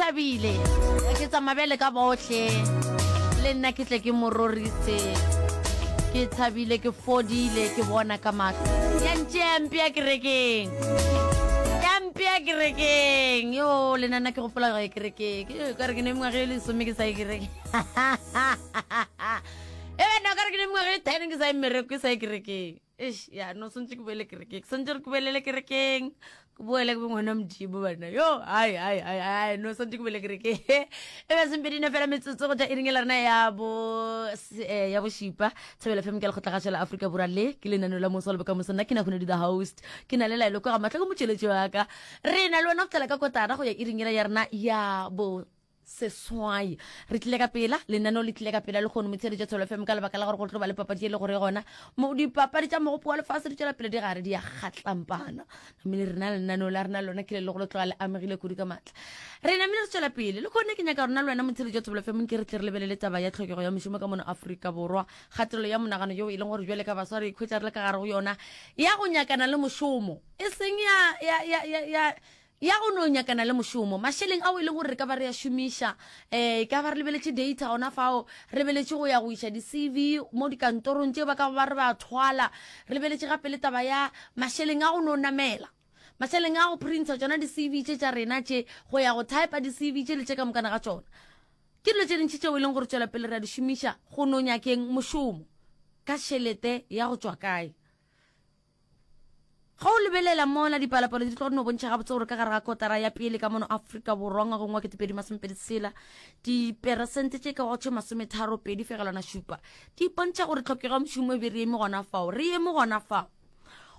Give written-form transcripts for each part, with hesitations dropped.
thabile ke tsamaya bjale ka bohle le nna ke tle ke mo rorise ke thabile ke fodile ke bona ka mahlo ya ntšea mpea kerekeng ya mpea kerekeng yo le nna ke gopola go ye kerekeng ka re ke ne mengwaga e lesome ke sa ye kerekeng e bena ka re ke ne mengwaga e ten ke sa ye mmereko ke sa ye kerekeng Eish, ya no swantse ke boele kerekeng swantse re ke boelele kerekeng ke boele ke be ngwana modimo bana yo ai ai ai ai no swantse ke boele kerekeng e be sempedine fela metsotso go tša iring e la rena ya bo eh, ya bošipa thobela fm ke lekgotlagašo la aforika borwa le ke lenaneo la moso le bokamoso nna ke nagone di the host ke na le laelo kwa ga matlho ke motšweletši wa ka re na le wena go tlhela ka kotara go ya iring ela ya rena ya bo Seswai. Re tlile ka pela, lenaneo le tlile ka pela lehono motheeletši wa Thobela FM ka lebaka la gore go tlo ba le papadi e le gore gona mo dipapadi tša mogopo wa lefase di tšwela pele di gare di ya kgatlampana. Namile rena lenaneo la rena lona ke le le go le tloga le amegile kudu ka matla. Re namile re tšwela pele. Le kgone ke nyaka rona le wena motheeletši wa Thobela FM ke re tle re lebelele taba ya tlhokego ya mešomo ka mono Afrika Borwa. Kgatelelo ya monagano yeo e leng gore bjale ka baswa re ikhwetša re le ka gare go yona ya go nyakana le mošomo e seng ya ya ya ya, ya Ya go no nyakana le mošomo. Mašeleng ao e leng gore re ka ba re a šomiša, um e ka ba re lebeletše data gona fao, re lebeletše go ya go iša di-CV mo dikantorong tše ba ka ba re ba thwala, re lebeletše gape le taba ya mašeleng a go no namela, mašeleng a go printer tšona di-CV tše tša rena tše, go ya go typa di-CV tše le tše ka mokana ga tšona. Ke dilo tše dintši tšeo e leng gore tšwela pele re a di šomiša go no nyakeng mošomo ka tšhelete ya go tšwa kae. Ge o lebelela mola dipalopalo di tlo no bontšha gabotse gore ka gare ga kotara ya pele ka mono Afrika Borwa ngwageng wa 2026 diperesente tše ka go tše 32 fegelwana šupa di bontšha gore tlhokego ya mošomo e be re eme gona fao re eme gona fao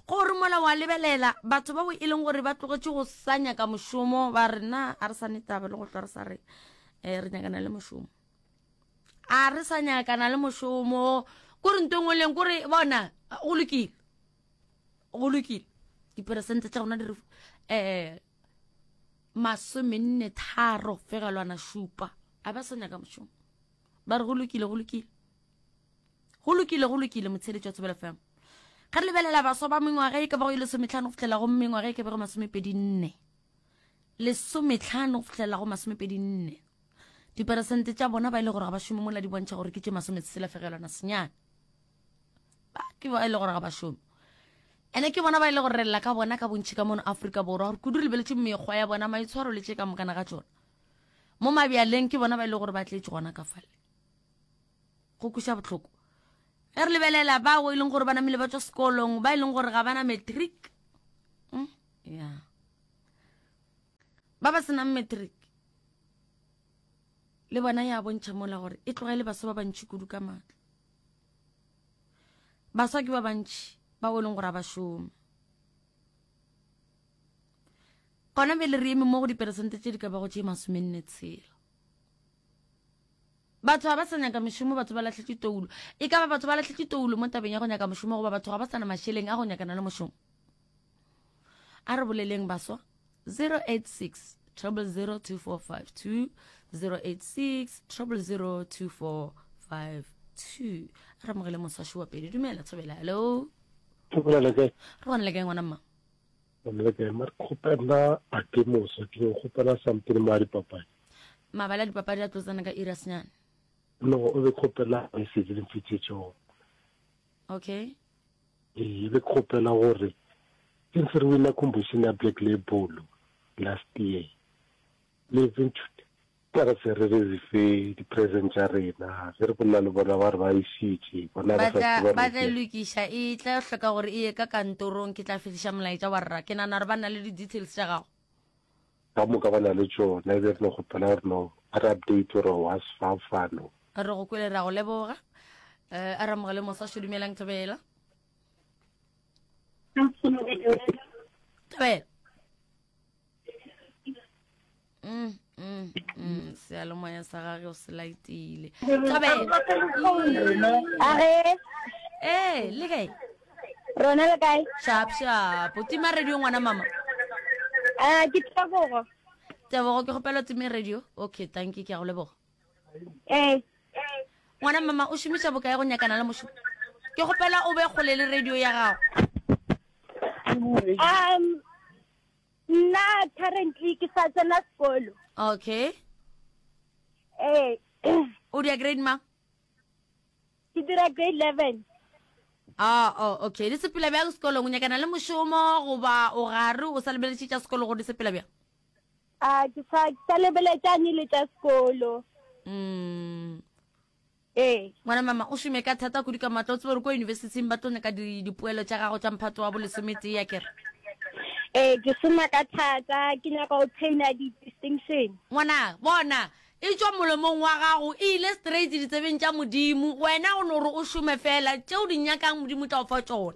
gore mola wa lebelela batho bao e leng gore ba tlogetše go sa nyaka mošomo ba re na a re sa ne taba le go hlwa re sa re um re nyakana le mošomo a re sa nyakana le mošomo kore nto engwe leng kore bona go lokile go lokile diperesente tša gona di re um masomenne tharo fegelwana šupa a ba sa nyaka mošomo ba re go lokile go lokile go lokile go lokile motsheletši wa tsebela fm ga re lebelela baswa ba mengwaga e ka bago e lesometlhano go fitlhela go mengwaga e ka bego masomepedi nne lesometlhano go fitlhela go masomepedi nne diperesente tša bona ba e le gore ga ba šome mola di bontšha gore ke tše masometshela fegelwana senyane ba ke ba e le gore ga ba šome ene ke bona ba e le gore re lla ka bona ka bontšhi ka mono Afrika Borwa gore kudu re lebeletše mekgwa ya bona maitshwaro le tše ka mokana ga tšona mo mabjaleng ke bona ba e le gore ba tletše gona ka fale go kweša bohloko ge re lebelela bao e leng gore ba namile ba tswa sekolong ba e leng gore ga ba na matric mm, ya ba ba senang matric le bona ya bontšha mola gore e tlogele baswa ba bantšhi kudu ka maatla Baswa ke ba bantši bao e leng gore a ba šome. Gona bjale re eme mo go diperesente tše di ka bago tše masomenne tshela. Batho ga ba sa nyaka mešomo, batho ba lahletše toulo. E ka ba batho ba lahletše toulo mo tabeng ya go nyaka mošomo goba batho ga ba sa na mašeleng a go nyakana le mošomo. A re boleleng baswa 086 000 2452 086 000 2452 re amogele moswaši wa pele dumela thobela hello Thobela le kae? re gona le kae ngwana mma Gona le kae? Mare kgopela a ke moswa ke go kgopela something mo a dipapadi. Mabala a dipapadi a tlo tsena ka iri ya senyane. No, o be kgopela message le mfitšetše gona. Okay. Ee, be ke kgopela gore since re wina competition ya Black Label last year, le ntšhute ka re se re re fe di-present tša rena ge re bolela le bona ba re ba išitše bona ba sa tla ba tla e lokiša e tla hloka gore e ye ka kantorong ke tla fihliša molaetša wa rra ke nana gore ba na le di-details tša gago Ka moka ba na le tšona, e be re no kgopela gore no ba re update gore was fa fa no. Re go kwele ra go leboga. Eh, a re amogele mosasho dumelang Thobela. Thobela. Mm, mm, mm, seyalemoya sa gage o se laetile. Thobela. Age. Eh, le kae? Rona le kae? Sharp sharp. O tima radio ngwana mama. Ah, ke Tebogo. Tebogo ke kgopela o time radio. Okay, thank you ke a go leboga. Eh. Ngwana mama o šomiša bokae go nyakana le mošomo? Ke kgopela o be kgole le radio ya gago. Um. Nna currently ke sa tsena sekolo. Okay. Ee. O dia grade mang? Ke dira grade 11. Ah, oh, okay. Di sepela bjang sekolong? O nyakana le mošomo goba o gare o sa lebeletše tša sekolo gore di sepela bjang? A ke sa ke sa lebeletšane le tša sekolo. Ee. Ngwana mama, o šome ka thata kudu ka matla. O tsebe gore kua yunibesithing ba tlo nyaka di, dipoelo tša gago tša mphato wa bolesometee, akere? Ee, ke šoma ka thata. Ke nyaka go obtaina di-distinction. Ngwana, bona, e tšwa molomong wa gago, e ile straight ditsebeng tša Modimo. Wena o no re o šome feela, tše o di nyakang Modimo o tla o fa tšona.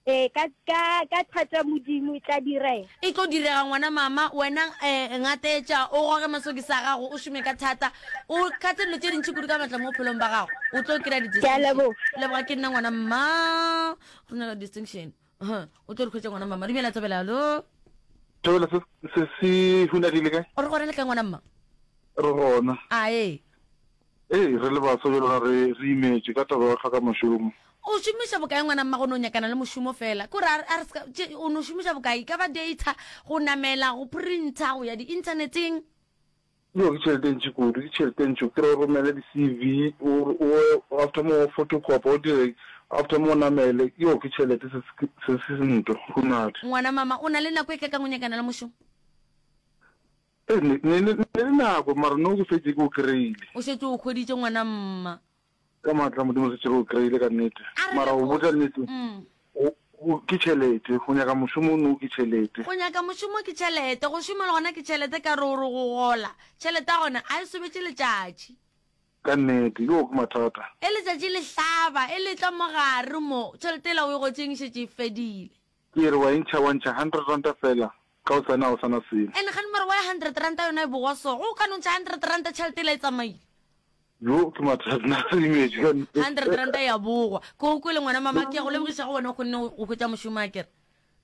Ee, ka, ka, ka thato ya Modimo e tla direga. E tlo direga, ngwana mama. Wena um ngatetša, o goge masokisi a gago, o šome ka thata, o kgathe dilo tše dintši kudu ka matla mo bophelong ba gago. O tlo kry-a Ke a di-distinction. leboga. Leboga ke nna ngwana mma. Re nyaka distinction. Huh, O tlo di hwetša ngwana mama. Dumela Thobela, hallo. Thobela, se, se, se hunadile kae? O re gona le kae ngwana mma? Re gona. A ee. Ee, re le baswa bjalo ga re, re imetšwe ka taba ya go hloka mošomo. O šomiša bokae ngwana mma go no nyakana le mošomo fela? Ke gore a re, a re se ka, tše, o no šomiša bokae? E ka ba data, go namela, go printer, go ya di-inthaneteng? Yo, ke tšhelete e ntši kudu, ke tšhelete e ntši. O kry-e o romele di-C_V, o, o, after moo o photocopy, o dire, after moo o namele. Yo, ke tšhelete se, se, se nto, hunadi. Ngwana mama, o na le nako e kakang o nyakana le mošomo? Ee, ne, ne, ne, ne le nako, mara no ke fetše ke o kry-ile. O šetše o hweditše ngwana mma. Ka maatla a Modimo šetše ke o kry-ile ka nnete. A re Mara go leboge. botša nnete, Mm. go, go, ke tšhelete. Go nyaka mošomo no ke tšhelete. Go nyaka mošomo ke tšhelete, go šoma le gona ke tšhelete ka re o re go gola. Tšhelete ya gona a e sobetše letšatši. Ka nnete, yoo ke mathata. E letšatši le hlaba, e le tla mo gare mo, tšhelete yela o e gotšeng e šetše e fedile. Ke re wa e ntšha, wa ntšha hundred ranta fela, ka hosane ga o sa na selo. And gane mara why hundred ranta yona e bogwa so? Go ka no ntšha hundred ranta tšhelete ela e tsamaile. Yo ke mathata nna re imetše ka nnete. Hundred ranta ya bogwa. Ke go kwele ngwana mama ke ya go lebogiša go wena o kgonne go hwetša mošomo akere.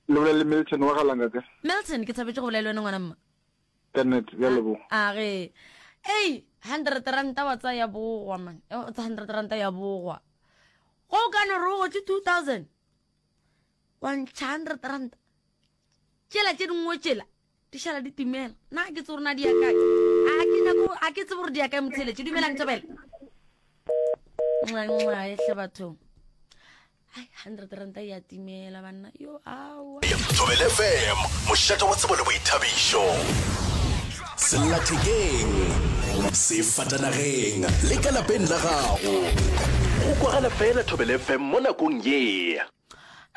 Le bolela le Milton wa ga Langa ka? Milton ke thabetše go bolela le wena ngwana mma. Ka nnete bja leboga. A ge. Ei, hundred ranta wa tsaya ya bogwa man. O tsa hundred ranta ya bogwa. Go ka no re o gotše 2000. Wa ntšha hundred ranta. Tšela tše dingwe tšela di šala di timela. Na ke tsebe gore na di ya kae. A ke nyako a ke tsebe gore di ya kae motheletše. Dumelang Thobela. Nxa nxa ehle bathong. Ai hundred ranta ya timela banna. Yo aowa. Thobela FM, mošate wa tsebo le boithabišo. Sellathekeng, sefatanageng le ka lapeng la gago. Go kwagala fela Thobela FM mo nakong ye.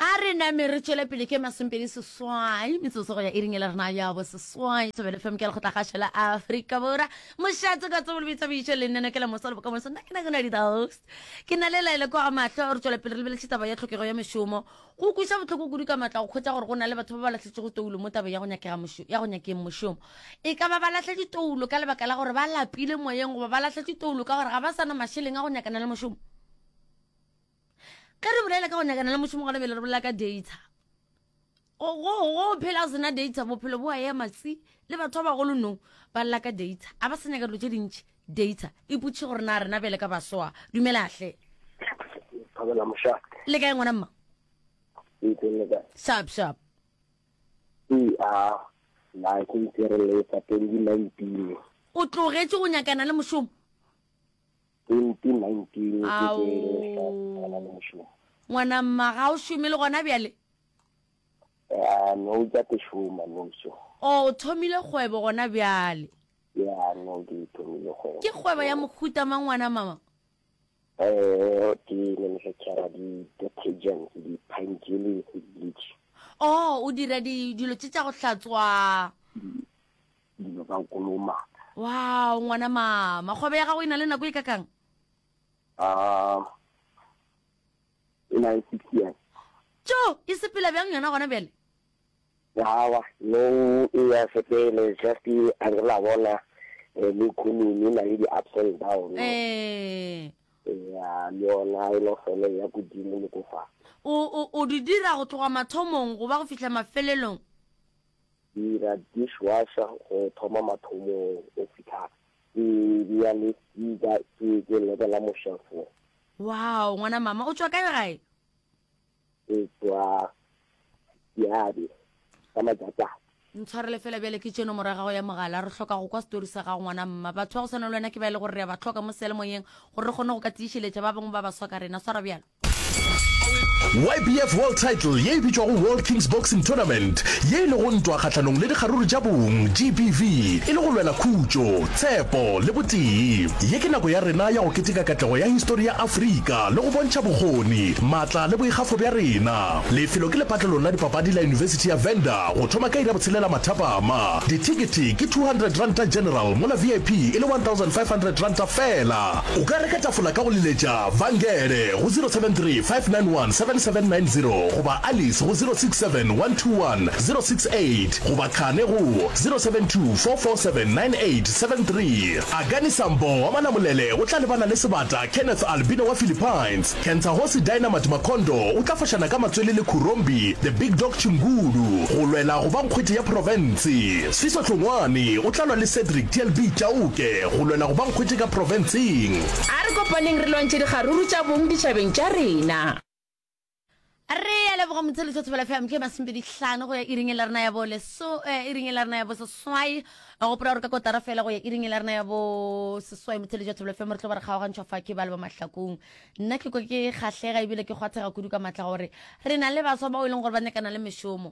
A re name re tšwele pele ke masomepedi seswai metsotso go ya iring e le rena ya bo seswai. Thobela FM ke lekgotlakgašo la Afrika Borwa. Mošate ka tsebo le boithabišo le nneno ke la moso le bokamoso. Nna ke na ke na di-host. Ke na le laele kwa ga mahlo re tšwela pele re lebeletše taba ya tlhokego ya mešomo. Go kweša bohloko kudu ka matla go hwetša gore go na le batho ba ba lahletšego toulo mo tabeng ya go nyakega mošo, ya go nyakeng mošomo. E ka ba ba lahletše toulo ka lebaka la gore ba lapile moyeng goba ba lahletše toulo ka gore ga ba sa na mašeleng a go nyakana le mošomo. Ge re bolela ka go nyakana le mošomo gona bjale re bolela ka data. Go, go, go phela o sena data bophelo bo a ema tsi le batho ba bagolo no ba lla ka data. A ba sa nyaka dilo tše dintši data. Ipotšiše gore na rena bjale ka baswa. Dumela hle. Thabela mošate. Le kae ngwana mma? Ke teng le kae? Sharp sharp. Ee a na ke ntse re le fa 2019. O tlogetše go nyakana le mošomo? 2019 ke ke nyakana le mošomo. Ngwana mma ga o šome le gona bjale? Ya no ke ke šoma no so. O thomile kgwebo gona bjale? Ya no ke thomile kgwebo. Ke kgwebo ya mohuta mang ngwana mama? Eh ke manufacturer di detergents di pine jelly bleach. Oh o dira di dilo tše tša go hlatswa. Dilo tsa go kolomaka. Wow ngwana mama kgwebo ya gago e na le nako e kakang? Ah e na le 6 years. Tjo e sepela bjang yona gona bjale? Awa no e ya sepele just a re la bona eh, le economy e na le di-ups and down. Eh. Ya le yona e no fele ya godimo le ko fa. O o o di dira go tloga mathomong go ba go fihla mafelelong? Dira dishwasher go thoma mathomong go fihla ke bea le speaker ke ke lebela mo shelfong. Wow, ngwana mama, o tšwa kae gae? Ke tšwa Diabe ka Majatšatši. Ntshwarele fela bjale ke tše nomoro ya gago ya mogala. Re hloka go kwa setori sa gago ngwana mma. Batho ba go swana le wena ke ba e le gore re a ba hloka mo seyalemoyeng gore re kgone go ka tiišeletša ba bangwe ba baswa ka rena. Swara bjalo. YBF World Title ye e bitšwago World Kings Boxing Tournament, ye e lego ntwa kgahlanong le dikgaruru tša bong, GBV, e le go lwela khutšo, tshepo le botee. Ye ke nako ya rena ya go keteka katlego ya histori ya Afrika le go bontšha bokgoni, maatla le boikgafo bja rena. Lefelo ke lepatlelong la dipapadi la Yunibesithi ya Venda go thoma ka iri ya botshelela mathapama. Dithekete ke R200 General mola VIP e le R1500 feela. O ka reka tafola ka go leletša Vangele go 073 591 7790 goba Alice go 067 121 068 goba Khane go 072 447 9873. Akani Sambo wa Malamulele o tla lebana le sebata Kenneth Albino wa Philippines. Kentsahosi Dynamite Makondo o tla fošana ka matswele le Khurombi The Big Dog Chingulu go lwela go ba nkgwete ya profense. Sfiso Hlongwane o tla lwa le Cedric TLB Chauke go lwela go ba nkgwete ka profenseng. A re kopaneng re lwantšhe dikgaruru tša bong ditšhabeng tša rena. Re a leboga motheletši wa Thobela FM ke masomepedi hlano go ya iring e la rena ya bo leso eh, iring e la rena ya bo seswai gopola gore ka kotara fela go ya iring e la rena ya bo seswai motheletši wa Thobela FM re tlo ba re kgaogantšhwa fa ke ba le ba mahlakong nna ke kwa ke kgahlega ebile ke kgwathega kudu ka matla gore re na le baswa bao e leng gore ba nyakana le mešomo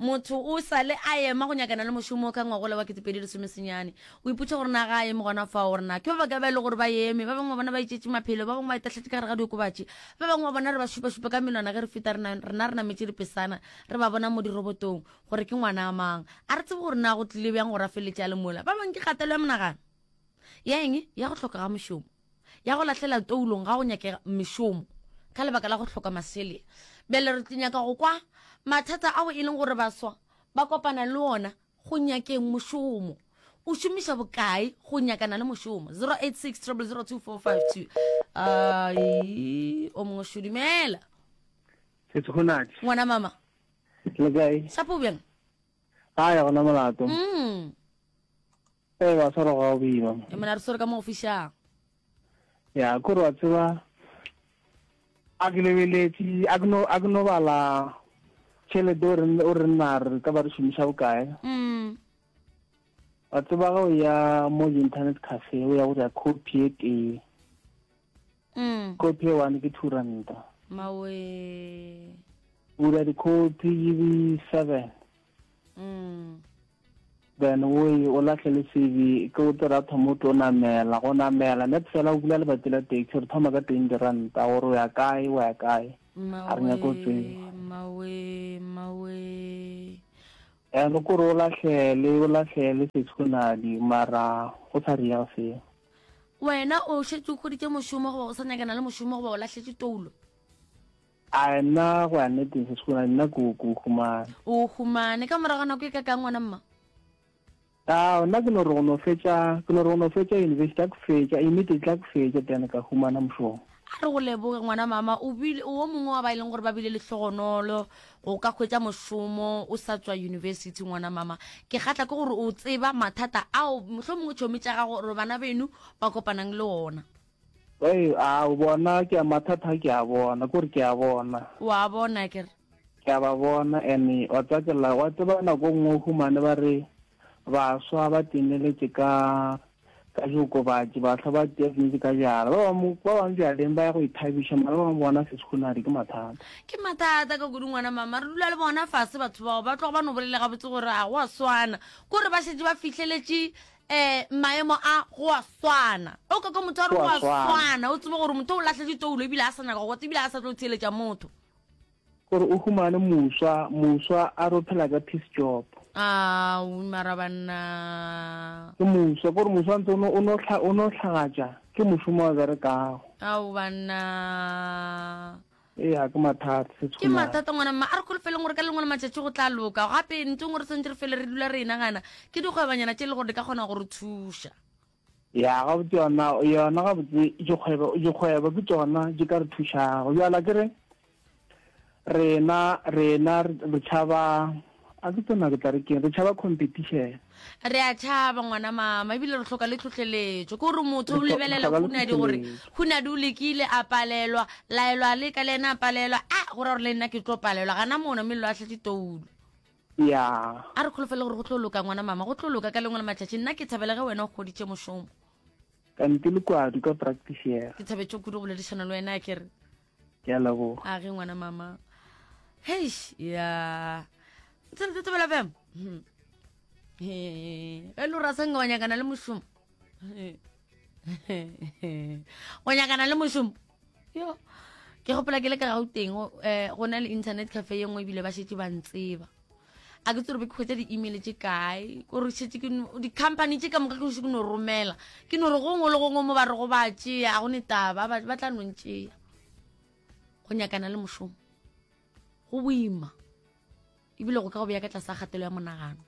Motho o sa le a ema go nyakana le mošomo ka ngwagola wa 2019. O ipotša gore na ga a eme gona fao gore na ke ba bakae ba e le gore ba eme. Ba bangwe ba bona ba itšetše maphelo, ba bangwe ba itahletše ka gare ga diokobatši, ba bangwe ba bona re ba šupašupa ka menwana ge re feta rena, rena re nametše dipesana re ba bona mo dirobotong gore ke ngwana a mang. A re tsebe gore na go tlile bjang gore a feleletše a le mola. Ba bangwe ke kgatelo ya monagano. Ya eng? Ya go hloka ga mošomo. ya go lahlela toulong ga go nyakega mešomo ka lebaka la go hloka masele. Bjale re tlo nyaka go kwa mathata ao e leng gore baswa ba kopana le ona go nyakeng mošomo. O šomiša bokae go nyakana le mošomo? 086 0002452. Ai, o mongwe šo dumela. Setshonadi. Ngwana mama. Le kae? Sapo bjang? Ga ya gona molato. Mm. Ee, ba swara ga boima. E mona re swere ka mo go fišang. Ya, kore wa tseba a ke lebeletše a ke no a ke no bala tšhelete o re o re nna re ka ba re šomiša bokae. Mm. Wa tseba ga o ya mo internet cafe o ya go dira copy e tee. Mm. Copy e one ke 2 ranta. Mawe. O dira di-copy di 7. Mm. Then o ye o lahlele CV ke o tera thoma o tlo namela go namela net fela o bula lebati la taxi re thoma ka 20 ranta gore o ya kae o ya kae a re nyake o tseba mawe mawe and kore o lahlele o lahlele setshonadi mara go sa riega seo wena o šetše o hweditše mošomo goba o sa nyakana le mošomo goba o lahletše toulo A nna go ya nneteng se sekolo nna ko ko humane. O humane ka morago ga nako e ka kang ngwana mma? A nna ke no re go no fetša ke no re go no fetša university a ke fetša immediately a ke fetša then ka humana mošomo. A re go leboge ngwana mama o bile o mongwe wa ba e leng gore ba bile lehlogonolo go ka hwetša mošomo o sa tšwa university ngwana mama. Ke kgatla ke gore o tseba mathata ao mohlomongwe tšhomi tša gago gore bana beno ba kopanang le ona. Ei, a o bona ke a mathata ke a bona, kore ke a bona. Wa bona ke re. Ke a ba bona and wa tseba ke la wa tseba nako nngwe o humane ba re baswa ba timeletše ka ka diokobatši baswa ba timeletše ka bjala ba bangwe ba bangwe bjaleng ba ya go ithabiša mara ba bangwe bona seskhunadi ke mathata. Ke mathata ka kudu ngwana mama re dula le bona fase batho bao ba tloga ba no bolele gabotse gore a go a swana kore ba šetše ba fihleletše um maemo a go a swana o ka kwa motho a re go a swana o tsebe gore motho o lahletše toulo ebile a sa nyaka go ebile a sa tlo theeletša motho gore o humane moswa moswa a re o phela ka peace job a mara banna ke moswa gore moswa ntse o no hlagatša ke mošomo wa berekago ao banna Eya, ke mathata, se Ke mathata ngwana mma, a re kholofeleng gore ka lengwe la matšatši go tla loka. Gape ntho e nngwe re swanetše re fele re dula re e nagana ke dikgwebanyana tše e le gore di ka kgona go re thuša. Ya, gabotse yona, yona gabotse dikgwebo, dikgwebo ke tšona di ka re thušago. Bjale a ke re rena, rena re tšhaba, a ke tsena ke tla re keng, re tšhaba competition. Re a tšhaba ngwana mama, ebile re hloka le tlhohleletšo. Ke gore motho o lebelela Hunadi gore Hunadi o lekile a palelwa, Laelo a leka le yena a palelwa, a go ra gore le nna ke tlo palelwa. Gana mona mello a hlatše toulo. Ya. A re kholofele gore go tlo loka ngwana mama, go tlo loka ka lengwe la matšatši. Nna ke thabela ge wena o hweditše mošomo. Kante le kwadu ka practice. Ke thabetše kudu go boledišana le wena ke re. Ke a leboga. A ge ngwana mama. Heish, ya. Tsene tse bela fem. Hmm. He, e lo rasang wa nyakana le mošomo. Wa nyakana le mošomo. Yo. Ke gopola ke le ka Gauteng, eh go na le internet cafe ye nngwe ebile ba šetše ba ntseba. A ke tsore be ke hwetša di-email tše kae, kore šetše ke di-company tše ka moka ke šetše ke no romela. Ke no re gongwe le gongwe mo ba re go ba tšea, a go ne taba, ba tla no ntšea. Go nyakana le mošomo go boima ebile go ka go beya ka tlase ga kgatelo ya monagano.